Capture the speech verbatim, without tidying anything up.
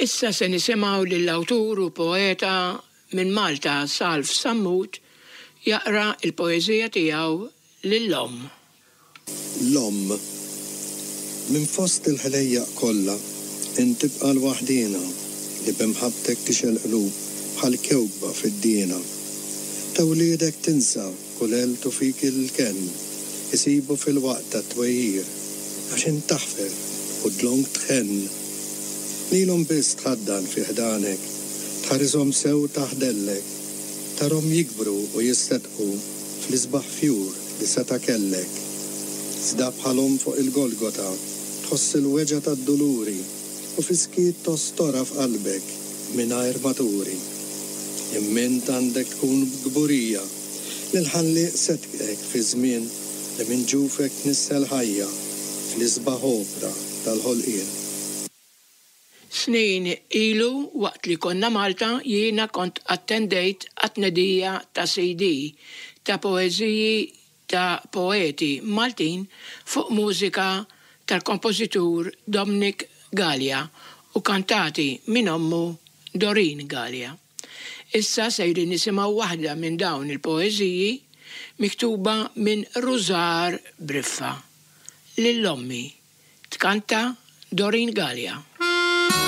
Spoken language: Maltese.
Issa se nisimgħu lill-awtur u poeta minn Malta Salv Sammut jaqra il-poeżija tiegħu Lill-Omm. L-Omm. Minn fost il-ħlejjaq kollha, int tibqa' l-waħdiena li b'imħabbtek tixgħel qlub bħal kewkba fid-dina. Ta' wliedek tinsa kull għelt u fik il-kenn isibu fil-waqt tat-twejjir, għax int taħfer u dlonk tħenn. Lilhom biss tħaddan fi ħdanek, tħarishom sew taħt dellek, tarhom jikbru u jisseddqu fl-isbaħ fjur li seta' kellek. Iżda bħal omm fuq il-Golgota tħoss il-weġgħa tad-duluri u fis-skiet tostorha f'qalbek mingħajr ma turi. Imma int għandek tkun kburija li l-Ħallieq seddqek fi żmien li minn ġufek tnissel ħajja fl-isbaħ opra tal-ħolqien. Snin ilu, waqt li konna Malta, jiena kont attendejt għat-tnedija ta' C D ta' poeżiji ta' poeti Maltin fuq mużika tal-kompożitur Dominic Galea u kantati minn ommu Doreen Galea. Issa sejrin nisimgħu waħda minn dawn il-poeżiji miktuba minn Rużar Briffa. Lil Ommi. Tkanta Doreen Galea.